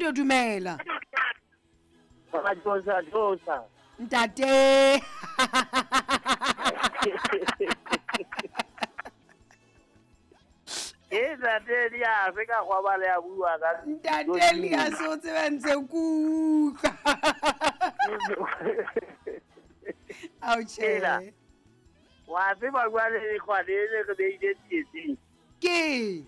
Radio dumela. Josa Josa. Ntate. Ke ntate Elias ka gwa le a bua ka Ntate Elias o tsebe ntse kutlwa. Ao tjhe. Wa tseba jwale lekgwa le le re beile tsietsing. Ke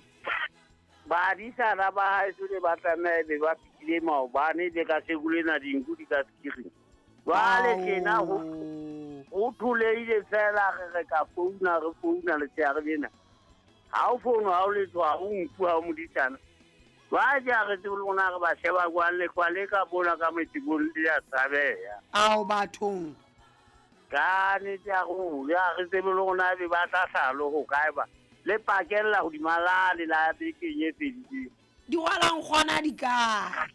Badisana ba haeso ne ba tlameha be ba fihlile maobane le ka seko lena dinku di ka sekiring. Jwale tjena ho ho tholeile fela re re ka founa re founa letshehare lena. Ha o founu ha o letho ha o nku ha o modisana. Jwale ha re tsebe le rona re ba sheba jwang lehlwa le ka mona ka metebong le a tshabeha. Ao bathong. Ka nnete ya ruri ha re tsebe le rona ebe ba tla hlaha le ho kae ba le pakella hodima lane la bekeng e fedileng. Di rwala nkgona di kae?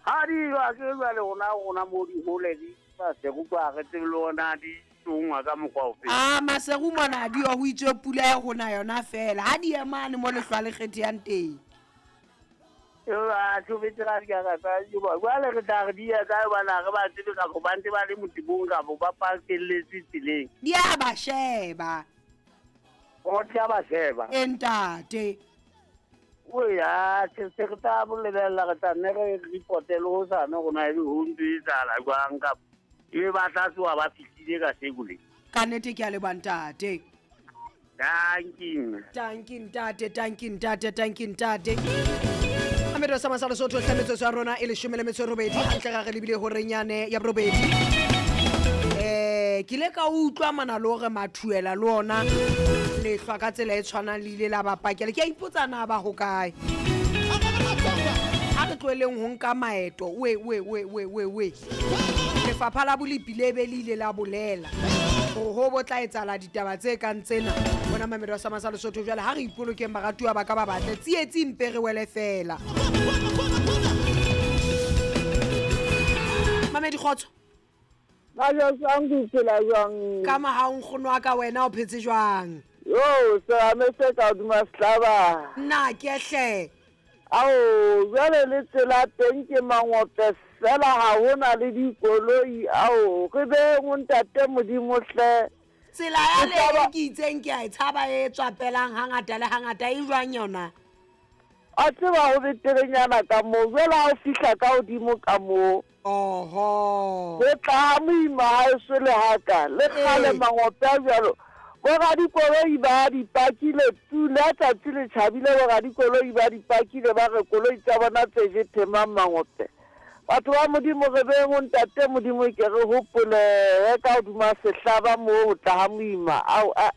Ha di wa ke jwale rona rona mo di hole di maseru kwa re tsebe le rona di tsongwa ka mokgwa ofe. A maseru mona di ho itswe pula e rona yona fela ha di emane mo lehlwa le kgethehang teng. A tshobetse ga di ka ka tsa jwale re tla re di ya kae bana re ba tsebe kapo ba ntse ba le motebong kapo ba pakelletswe tseleng. Di a ba sheba. O tla ba sheba. E ntate. O ya se se re tla bolebella re tla nne re reporte le hosane rona ebe ho ntse e etsahala jwang kapa ebe ba tla tsoha ba fihlile ka seko le. Ka nnete ke a leboha ntate. Dankie. Dankie ntate, dankie ntate, dankie ntate. Amedo sa masala sotho hle metsotso ya rona e leshome le metso e robedi hantle ga re lebile horeng yane ya borobedi. Ke ile ka utlwa mana le hore mathuela le ona lehlwa ka tsela e tshwanang le ile la ba pakela. Ke a ipotsa na ba hokae. Ha re tloheleng ho nka maeto we we we we we we. Lefapha la bolepi le be le ile la bolela hore ho bo tla etsahala ditaba tse kang tsena. Bona Mamedo wa Sama sa Lesotho jwale ha re ipolokeng baratuwa ba ka ba batle tsietsi mpe re wele fela. Mamedi kgotso. Ba jwang ke phela jwang? Ka mohau nkgono wa ka wena o phetse jwang? Yo, serame se ka hodima sehlaba. Nna ke hle. Ao, jwale le tsela teng ke mangope fela ha hona le dikoloi ao. Re beng o ntate Modimo hle. Tsela ya le ke itseng ke a e tshaba e tswapelang hangata le hangata e jwang yona? A tseba ho beterenyana ka moo, jwale ha o fihla ka hodimo ka moo. Oho. Ho tla ha moima ha eso le haka, le kgale mangope a jwalo. Boradikoloi ba di pakile pula tsatsi le tjhabile, boradikoloi ba di pakile ba re koloi tsa bona tse je themang mangope. Batho ba Modimo re beng o ntate Modimo ke re hopole ka hodima sehlaba moo ho tla ha moima. Ao a.